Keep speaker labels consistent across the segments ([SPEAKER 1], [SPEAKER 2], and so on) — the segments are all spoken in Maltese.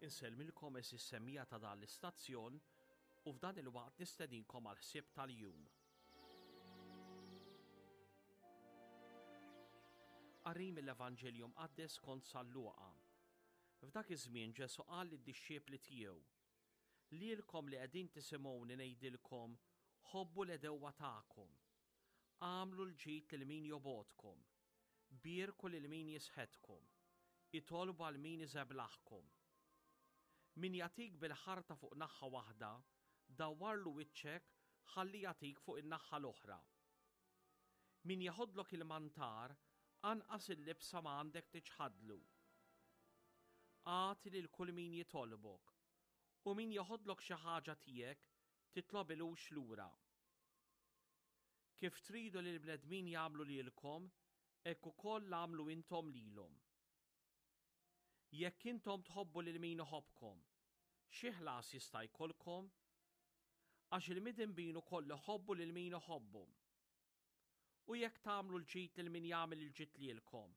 [SPEAKER 1] Insellmilkom għeżież semmiegħa ta' dan l-istazzjon u f'dan il-waqt nistedinkom għall-ħsieb tal-jum. Qari mill-Evanġelju Mqaddes skont San Luqa. F'dak iż-żmien Ġesù qal lid-dixxipli tiegħu, Lilkom li qegħdin tisimgħuni ngħidilkom, ħobbu l-għedewwa tagħkom. Agħmlu l-ġid lil min jobgħodkom. Bierku lil min jisħetkom. Itolbu għal min iżeblaħkom. Min jagħtik bil-ħarta fuq naħha waħda, dawwarlu wiċċek ħalli jagħtik fuq in-naħha l-oħra. Min jeħodlok il-mantar, anqas il-libsa ma għandek tiċħadlu. Agħti lil kull min jitolbok, u min jeħodlok xi ħaġa tiegħek titlobilux lura. Kif tridu li l-bnedmin jagħmlu lilkom, hekk ukoll agħmlu intom lilhom. Jekk intom tħobbu lil min iħobbkom, xi ħlas jista' jkollkom? Għax il-midinbin ukoll iħobbu lil min iħobbhom. U jekk tagħmlu l-ġid lil min jagħmel il-ġid lilkom,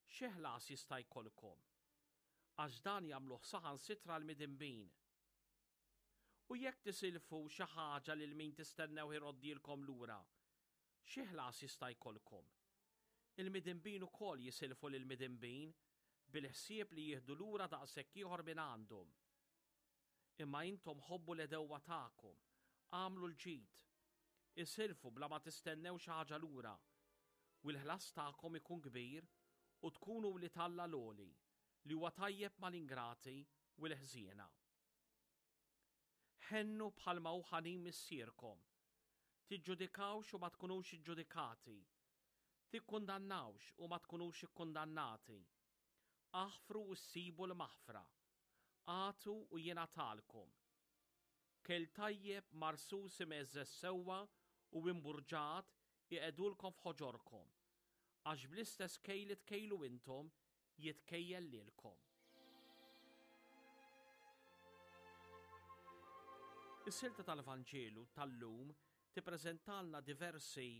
[SPEAKER 1] xi ħlas jista' jkollkom? Għax dan jagħmluh saħansitra l-midinbin. U jekk tisilfu xi ħaġa lil min tistennew iroddilkom lura, xi ħlas jista' jkollkom? Il-midinbin ukoll jisilfu lill-midinbin bil-ħsieb li jieħdu lura daqshekk ieħor minn għandhom. Imma intom ħobbu l-għedewwa tagħkom, agħmlu l-ġid, isilfu bla ma tistennew xi ħaġa lura, u l-ħlas tagħkom ikun kbir u tkunu wlied Alla l-Għoli, li huwa tajjeb mal-ingrati u l-ħżiena. Ħennu bħalma hu ħanin Missierkom. Tiġġudikawx u ma tkunux iġġudikati. Tikkundannawx u ma tkunux ikkundannati. Aħfru u ssibu l-maħfra. Agħtu u jingħatalkom. Kejl tajjeb marsus imgħeżżeż sewwa u imburġat iqegħdulkom f'ħoġorkom, għax bl-istess kejl li tkejlu intom jitkejjel lilkom. Is-silta tal-Vanġelu tal-lum tippreżentalna diversi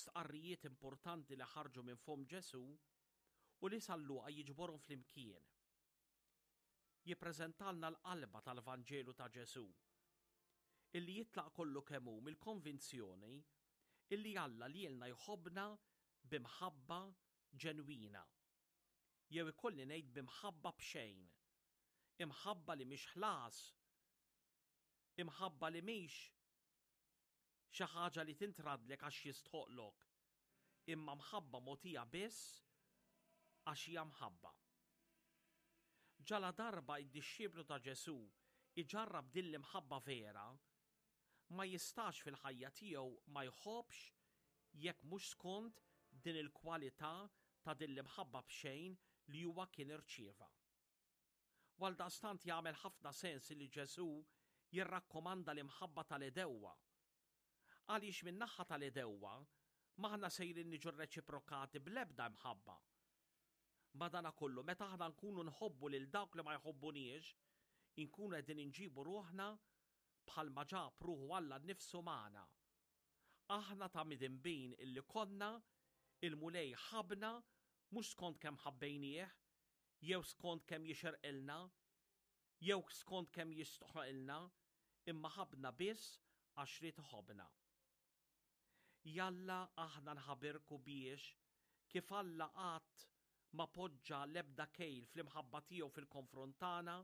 [SPEAKER 1] stqarrijiet importanti li ħarġu minn fomm Ġesù u li San Luqa jiġborhom flimkien. Jippreżentalna l-qalba tal-Vanġelu ta' Ġesù, illi jitlaq kollu kemm hu mill-konvinzjoni illi Alla lilna jħobbna b'imħabba ġenwina, jew ikolli ngħid b'imħabba b'xejn, imħabba li mhix ħlas, imħabba li mhix xi ħaġa li tintradlek għax jistħoqlok, imma mħabba mogħtija biss għax hija mħabba. Ġaladarba id-dixxiplu ta' Ġesù iġarrab din l-imħabba vera, ma jistax fil-ħajja tiegħu ma jħobbx jekk mhux skont din il-kwalità ta' din l-imħabba b'xejn li huwa kien irċieva. U għaldaqstant jagħmel ħafna sens li Ġesù jirrakkomanda l-imħabba tal-għedewwa. Għaliex min-naħa tal-għedewwa m'aħna sejrin niġu rreċiprokati bl-ebda imħabba. Madanakollu, meta aħna nkunu nħobbu lil dawk li ma jħobbuniex, inkunu qegħdin inġibu ruħna bħalma ġab ruħu Alla nnifsu magħna. Aħna ta' midinbin illi konna, il-Mulej ħabbna mhux skont kemm ħabbejnieh, jew skont kemm jixirqilna, jew skont kemm jistħoqilna, imma ħabbna biss għax ried iħobbna. Jalla aħna nħabirku biex, kif Alla qatt ma poġġa l-ebda kejl fl-imħabba tiegħu fil-konfront tagħna,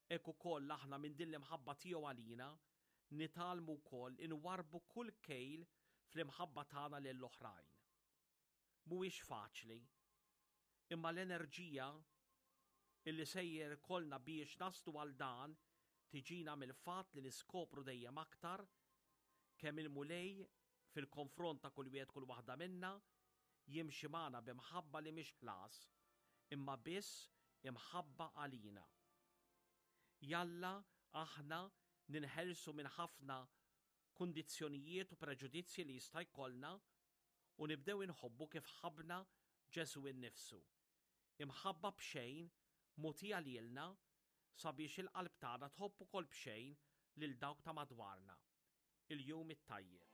[SPEAKER 1] hekk ukoll aħna minn din l-imħabba tiegħu għalina, nitgħallmu wkoll inwarrbu kull kejl fl-imħabba tagħna lil oħrajn. Mhuwiex faċli, imma l-enerġija illi sejjer ikollna biex naslu għal dan tiġina mill-fatt li niskopru dejjem aktar kemm il-Mulej fil-konfront ta' kull wieħed kull waħda minna jimxi magħna b'imħabba li mhix ħlas, imma biss imħabba għalina. Jalla aħna ninħelsu minn ħafna kundizzjonijiet u preġudizzji li jista' jkollna u nibdew inħobbu kif ħabbna Ġesù innifsu. Imħabba b'xejn mogħtija lilna sabiex il-qalb tagħna tħobb ukoll b'xejn lil dawk ta' madwarna. Il-jum it-tajjeb.